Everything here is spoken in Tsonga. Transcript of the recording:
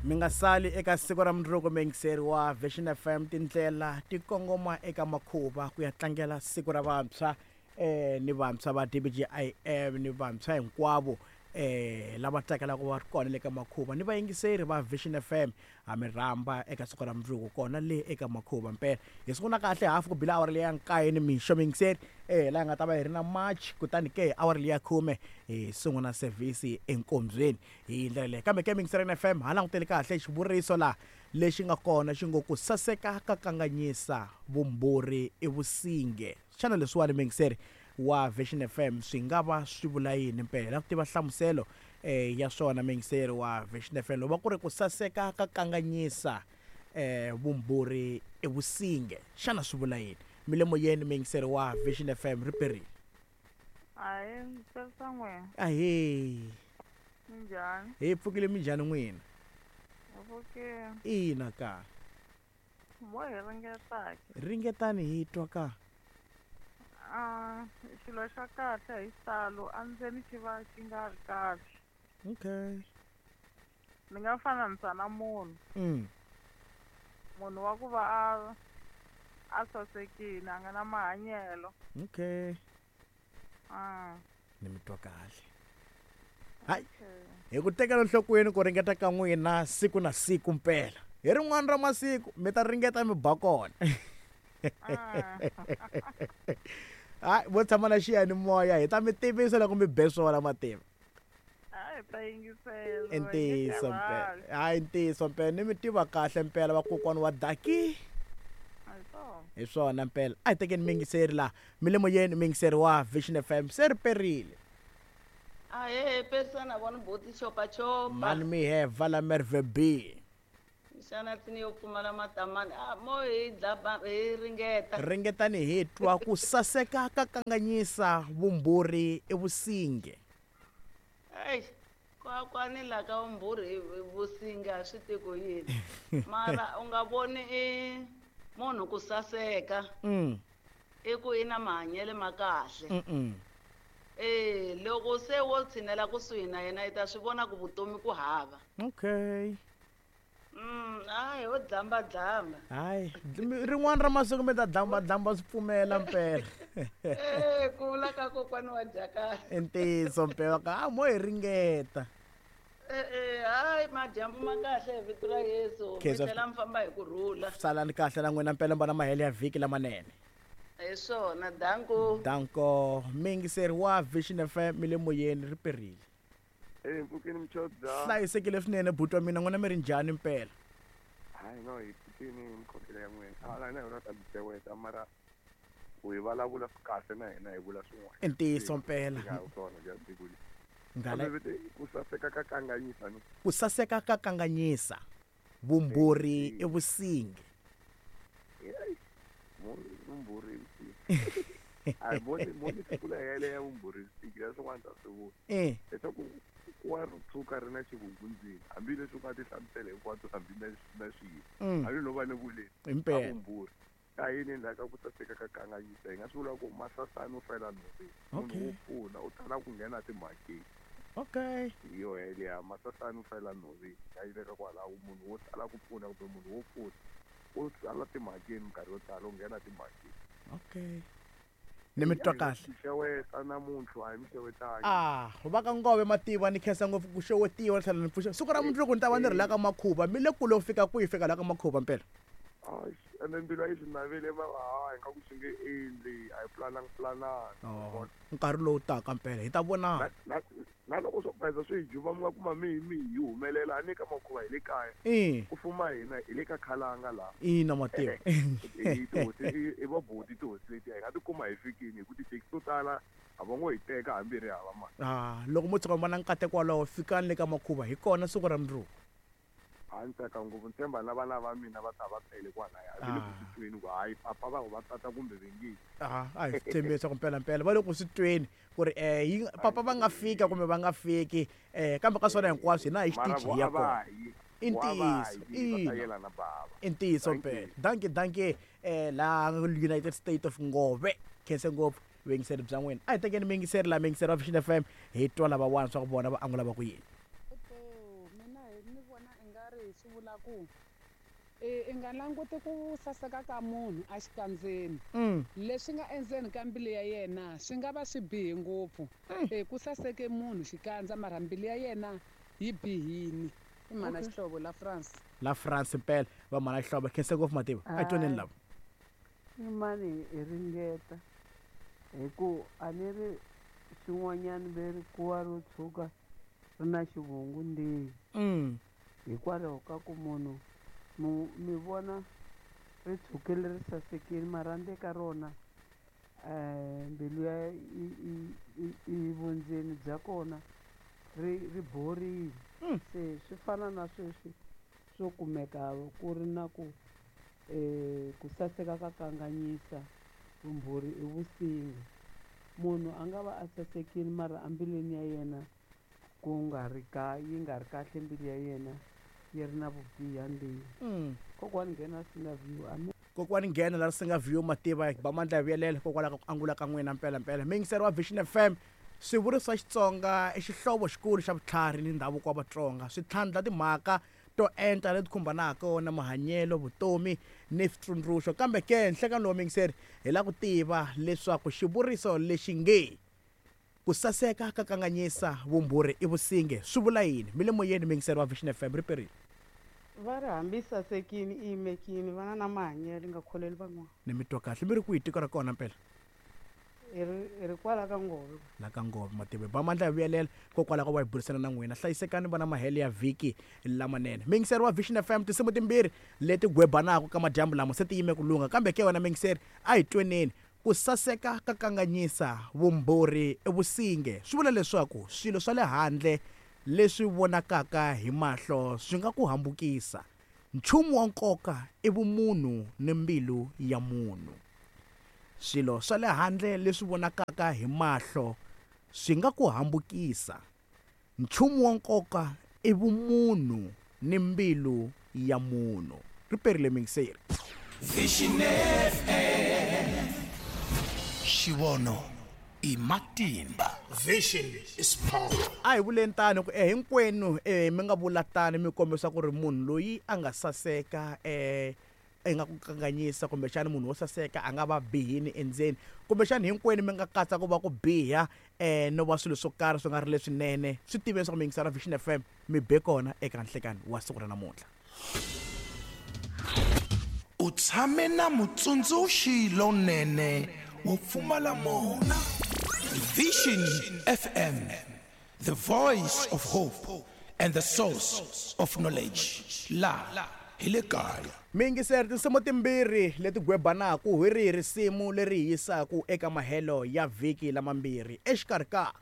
Mi nga sali eka siku ra mundzuku muyingiseri wa Vision FM tindlela ti kongoma eka makhuva ku ya tlangela siku ra vantshwa ni vantshwa va DBGIM ni vantshwa hinkwavo lava tsakelaka va ri kona le ka makhuva ni vayingiseri va Vision FM ha mi rhamba eka siku ra mundzuku kona le eka makhuva mpela hi sungula kahle hafu ku bila awara leya nkaye ni mixo muyingiseri laha hi nga ta va hi ri na march kutani ke awara leya khume hi sungula service enkombyeni hi ndlela leyi kambe ke muyingiseri FM ha langutele kahle xivuriso laha lexi nga kona xi ngo ku saseka ka kanganyisa vumbhurhi i vusinge xana leswiwani muyingiseri wa Vision FM swi nga va swi vula yini mpela la ku tiva nhlamuselo eh, ya swona muyingiseri wa Vision FM loko va ku ri ku saseka ka kanganyisa eh, vumbhurhi i vusinge xana swi vula yini mi le moyeni muyingiseri wa Vision FM ri perile Ahee, ndzi tsarisa n'wina. Ahee. Minjhani? Hi pfukile minjhani n'wina? Hi pfukile. Ina ka. Mo hi ringeta ke. Ringetani hi twa ka. Ah, xilo xa kahle hi xitalo endzeni xi va xi nga ri kahle. Okay. Ni nga fananisa na munhu. Munhu wa ku va a a sasekile a nga na mahanyelo. Okay. Ah. Ni mi twa kahle. Hayi. Hi ku tekela enhlokweni ku ringeta ka n'wina siku na siku mpela. Hi rin'wana ra masiku mi ta ringeta mi ba kona. Hayi vo tshama na xiyanimoya hi ta mi tivisa loko mi be swona mativa. Hayi ta yingisela. I ntiyiso mpela. Hayi ntiyiso mpela ni mi tiva kahle mpela vakokwani wa Daki. Hi swona mpela. A hi tekeni miyingiseri laha. Mi le moyeni miyingiseri wa Vision FM se ri perile. Ahee pesana vona boti chopachopa. Mani mi heva la Merve B. Xana tsini yo pfumala matamani a mo hi dlaba hi ringeta. Ringetani hi twa ku saseka ka kanganyisa vumbhurhi i vusinge. Eish kwakwani la ka vumbhurhi i vusinge a swi tivi ku yini mara u nga voni i munhu ku saseka i ku i na mahanyelo ma kahle. E loko se wo tshinela kusuhi na yena i ta swi vona ku vutomi ku hava. Okay. Hayi ho dlamba dlamba. Hayi rin'wana ra masiku mi ta dlamba dlamba swi pfumela mpela. Eh ku vula ka kokwani wa Jakana. I ntiyiso mpela ka a mo hi ringeta. Eh eh hayi madyambu ma kahle hi vito ra Yesu. Mi tlhela mi famba hi ku rhula. Salani kahle na n'wina mpela mbana mahelo ya vhiki lamanene. Hi swona danko. Danko muyingiseri wa Vision FM mi le moyeni ri perile. Eh mpfukeni mchodza. Hlayisekile swinene buti wa mina n'wina mi ri njhani mpela? Hayi no hi pfukini hi mikhongelo ya n'wina. A la na yona ta mi mara ku hi vulavula swi kahle na hina hi vula swin'wana. I ntiyiso mpela. Nga swona bya siku leri. Ngala ku saseka ka kanganyisa ni. Ku saseka ka kanganyisa. Vumbhurhi i vusingi. Vumbhurhi i vusingi. A mo ni mo ni sungula yeleyo ya vumbhurhi vusingi ya swin'wana ta swi vula. Leswaku ku wa ri tshuka ri na xivungu ndzeni hambileswi u nga ti hlamusela hinkwato hambi na na swiyimo. Hambi no va ni vuleni ka vumbhurhi. Ka yini endzhaku ka ku saseka ka kanganyisa hi nga swi vula ku masasani u fela nhoveni. Munhu wo pfuna u tala ku nghena timhakeni. Okay. Hi yo yeleyo masasani u fela nhoveni ya yi veka kwalaho munhu wo tala ku pfuna kumbe munhu wo pfuna u tala timhakeni minkarhi yo tala u nghena timhakeni. Okay. Ni mi twa kahle. Mi xeweta namuntlha a hi mi xewetangi. Ah, va ka Ngove mativa ni khensa ngopfu ku xewetiwa ni tlhela ni pfuxa. Siku ra mundzuku ni ta va ni ri la ka Makhuva mi le kule ku fika kwihi fika la ka Makhuva mpela? Ene mbilu a yi swi navele mara ha ingaku swi nge endli a hi pulanangi pulanangi. Oh, nkarhi lowu taka mpela hi ta vonana. Na, na, na loko swo bayiza swi hi juba mi nga kuma mi mi hi humelela a ni ka Makhuva hi le kaya. Ku fuma hina hi le ka Khalanga laha. Ina mativa. I tihosi i vabuti tihosi letiya hi nga tikuma hi fikini hi ku tithekisi to tala a va ngo hi teka hambi hi ri hava mali. Ah, loko mo tshuka mi va na nkateko wolowo fikani le ka Makhuva hi kona siku ra mundzuku. A ni tsaka ngopfu ni tshemba na vana va mina va ta va tele kwalaya va le ku swi tweni ku hayi papa va va tata kumbe ve nge A a hi swi tshembi leswaku mpelampela va le ku swi tweni ku ri yi papa va nga fika kumbe va nga fiki kambe ka swona hinkwaswo hina hi mara xitichi vo hi ya a va kona yi i vo a va ntiyiso yi va ta ina yelana bava i ntiyiso Thank mpela you. dankie dankie laha United State of Ngove khense ngopfu vuyingiseri bya n'wina a hi tekeni miyingiseri laha miyingiseri wa Vision FM hi twa lavawani swa ku vona va angula va ku yini. Mina ni vona i nga ri swi vula ku i nga languti ku saseka ka munhu exikandzeni. Leswi nga endzeni ka mbilu ya yena swi nga va swi bihe ngopfu. Ku saseke munhu xikandza mara mbilu ya yena yi bihini. I mhana Xihlovo la France. La France mpela va mhana Xihlovo, khense ngopfu mativa. A twaneni lava. I mani hi ringeta hi ku a ni ri xin'wanyana ve ri kuwa ro tshuka ri na xivungu ndzeni. Hikwalaho ka ku munhu mi vona ri tshukile ri sasekile mara ndzeni ka rona mbilu ya i vundzeni bya kona ri borile. Se swi fana na sweswi swo kumeka ku ri na ku ku saseka ka kanganyisa, vumbhuri i vusinga. Munhu a nga va a sasekile mara embilwini ya yena ku nga ri ka yi nga ri kahle, mbilu ya yena yi ri na vubiha ndzeni. Kokwani nghena Singa View. Amen. Kokwani nghena la Singa View mativa ba mandla ya vuyelela kokwala ka ku angula ka n'wina mpela mpela. Miyingiseri wa Vision FM, swivuriso swa Xitsonga i xihlovo xikulu xa vutlhari ni ndhavuko wa Vatsonga. Swi tlhandla timhaka to enta leti khumbanaka na mahanyelo, vutomi ni switsundzuxo. Kambe ke nhlekani lowu miyingiseri hi lava ku tiva leswaku xivuriso lexi nge ku saseka ka kanganyisa, vumbhuri i vusinge swi vula yini? Mi le moyeni miyingiseri wa Vision FM, ri perile. Va ri hambi sasekini i yimekini, vana na mahanyelo nga kholeli van'wana. Ni mi twa kahle, mi ri kwihi tiko ra kona mpela? Hi ri kwala ka Ngove. La ka Ngove mativa ba mandla ya vuyelela kokwalaho ka va hi burisana na n'wina. Hlayisekani vana mahele ya vhiki lamanene. Miyingiseri wa Vision FM, tinsimu timbirhi leti gwebanaka ka madyambu lama se ti yime ku lungha, kambe ke wena miyingiseri a hi tweneni. Ku saseka ka kanganyisa, vumbhuri i vusinge swi vula leswaku swilo swa le handle leswi vonakaka hi mahlo swi nga ku hambukisa. Nchumu wa nkoka i vumunhu ni mbilu ya munhu. Swilo swa le handle leswi vonakaka hi mahlo swi nga ku hambukisa. Nchumu wa nkoka i vumunhu ni mbilu ya munhu. Ri perile miyingiseri. Vision FM. Xivono i matimba. Vision is power. A hi vuleni tano ku hinkwenu mi nga vula tano mi kombisa ku ri munhu loyi a nga saseka i nga ku kanganyisa, kumbexana munhu wo saseka a nga va bihini endzeni, kumbexana hinkwenu mi nga katsa ku va ku biha no va swilo swo karhi swi nga ri leswinene. Swi tiveni swa ku mi yingisela Vision FM, mi be kona eka nhlekani wa siku ra namuntlha. U tshame na mutsundzuxi lonene wo pfumala mona. Vision FM, the voice of hope and the source of knowledge. La hi le kaya. Miyingiseri, tinsimu timbirhi leti gwebanaka hi rihi risimu leri hi yisaka eka mahelo ya vhiki lamambirhi exikarhi ka